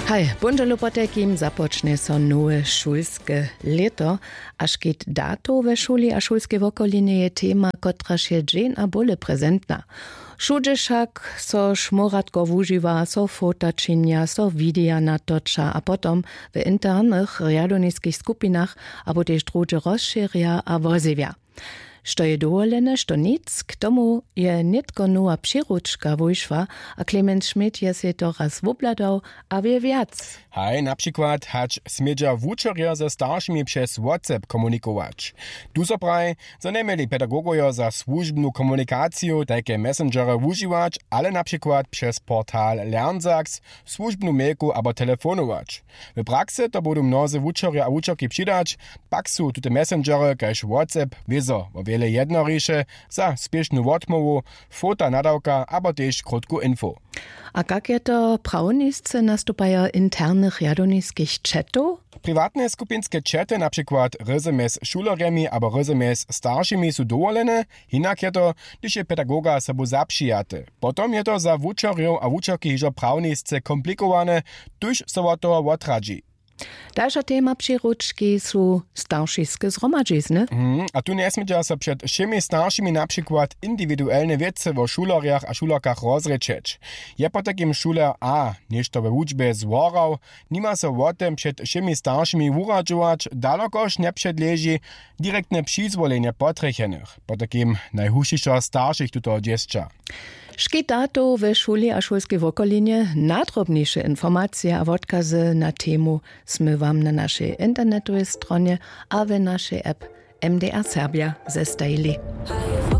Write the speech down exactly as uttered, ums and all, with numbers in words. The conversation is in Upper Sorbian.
Haj, póndźelu potajkim započnje so nowe šulske lěto. A škit datow we šuli a šulskej wokolinje je tema, kotraž je dźeń a bóle prezentna. Wšudźe wšak so šmóratko wužiwa, so fota činja, so wideja natoča a potom w internych rjadowniskich skupinach abo tež druhdźe rozšěrja a wozjewja. Što je dowolene, što nic, k tomu je nětko nowa přiručka wójšła. A Clemens Schmidt je sej to raz wobhladał a wě wjac. Haj, na přikład hač smědźa wučerjo ze staršimi přez WhatsApp komunikować. Tu so praji, zo njeměli pedagogojo za słužbnu komunikaciju tajke messengery wužiwać, ale na přikład přez portal LearnSax, słužbnu mailku abo telefonować. W praksy to budu mnozy wučerjo a wučerki přidać, pak su tute messengery kaž WhatsApp wězo wo wjele jednoriše za spěšnu wotmołwu, fota nadawka abo tež krótku info. A kak je to, prawnisce nastupajo internych rjadowniskich četow? Priwatne skupinske čety, na přikład ryzy mjez šulerjemi abo ryzy mjez staršimi, su dowolene. Hinak je to, hdyž je pedagoga sobu zapřijaty. Potom je to za wučerjow a wučerki hižo prawnisce komplikowane, tuž so wot toho wotradźi. Dalša tema přiručki su staršiske zhromadźizny. Mhm. A tu njesmědźa so před wšěmi staršimi na přikład indiwiduelne wěcy wo šulerjach a šulerkach rozrěčeć. Je potajkim šuler A něšto we wučbje zworał, nima so wo tym před wšěmi staršimi wuradźować, dalokož njepředleži direktne přizwolenje potrjechenych, potajkim najhušišo staršich tutoho dźěsća. Škit datow we šuli a šulskej wokolinje. Nadrobniše informacije a wotkazy na temu smy wam na našej internetowej stronje a we našej app M D R Serbia zestajili.